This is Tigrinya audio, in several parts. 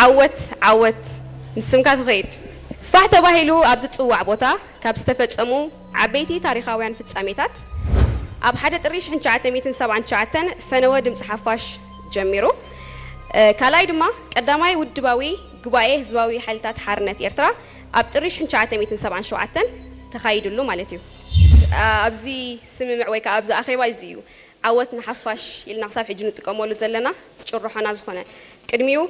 ዓወት ዓወት፣ ንስምካ ትኸይድ። ፋሕ ተባሂሉ ኣብ ዝጽዋዕ ቦታ ካብ ዝተፈጸሙ ዓበይቲ ታሪኻውያን ፍጻሜታት፣ ኣብ ሓደ ጥሪ ሽሕን ትሽዓተ ሚእትን ሰብዓን ትሽዓተን ፈነወ ድምፂ ሓፋሽ ጀሚሩ። ካልኣይ ድማ ቀዳማይ ውድባዊ ጉባኤ ህዝባዊ ሓይልታት ሓርነት ኤርትራ ኣብ ጥሪ ሽሕን ትሽዓተ ሚእትን ሰብዓን ሸውዓተን ተኻይድሉ ማለት እዩ። ኣብዚ ስምምዕ ወይ ከዓ ኣብዚ ኣኼባ እዚ እዩ ዓወት ንሓፋሽ ኢልና ክሳብ ሕጂ ንጥቀመሉ ዘለና ጭርሖና ዝኾነ። ቅድሚኡ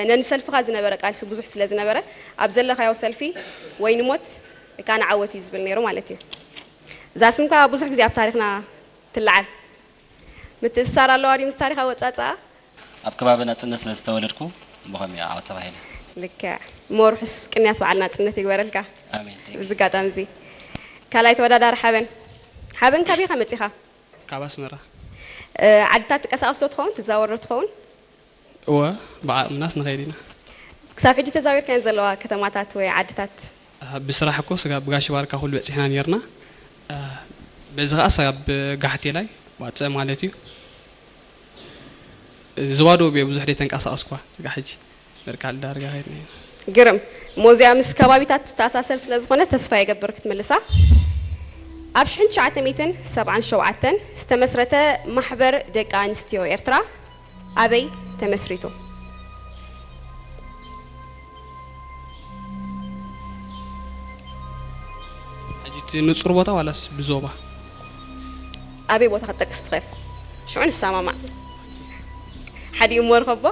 ነንሰልፍኻ ዝነበረ ቃልሲ ብዙሕ ስለ ዝነበረ፣ ኣብ ዘለኻዮ ሰልፊ ወይ ንሞት ወይ ከዓ ንዓወት እዩ ዝብል ነይሩ ማለት እዩ። እዛ ስምካ ብዙሕ ግዜ ኣብ ታሪኽና ትለዓል። ምትእስሳር ኣለዋ ድዩ ምስ ታሪኽ ኣወፃፅኣ? ኣብ ከባቢ ናጽነት ስለ ዝተወለድኩ ብኸምኡ ዓወት ተባሂለ። ልክዕ። እሞ ርሑስ ቅንያት በዓል ናጽነት ይግበረልካ። ኣሜን። Thank you። እዚ ኣጋጣሚ እዚ ካልኣይ ተወዳዳሪ ሓበን። ሓበን ካበይ ኢኻ መጺኻ? ካብ ኣስመራ። ዓድታት ትቀሳቐስ ዶ ትኸውን? ትዛወር ዶ ትኸውን? እወ፣ ብዓቕምናስ ንኸይድ ኢና። ክሳብ ሕጂ ተዛዊርካየን ዘለዋ ከተማታት ወይ ዓድታት? ብስራሕ እኮ ስጋብ ጋሽ ባርካ ኩሉ በጺሕና ኔርና። በዚ ኸኣ ስጋብ ጋሕቴላይ ዋጸ ማለት እዩ። ዝባዶ ብየ ብዙሕ ደይ ተንቀሳቐስኳ ስጋ ሕጂ በርካል ዳርጋ ኸይድና ኢና። ግርም። ሞዚያ ምስ ከባቢታት ትተኣሳሰር ስለ ዝኾነ ተስፋ የገብር ክትምልሳ። ኣብ ሽሕን ትሽዓተ ሚእትን ሰብዓን ሸውዓተን ዝተመስረተ ማሕበር ደቂ ኣንስትዮ ኤርትራ ኣበይ ተመስሪቱ? ሕጂ እቲ ንጹር ቦታ ዋላስ ብዞባ? ኣበይ ቦታ ክትጠቅስ ትኽእል? ሽዑ ንሰማማዕ። ሓዲኡ እሞ ርኸቦ።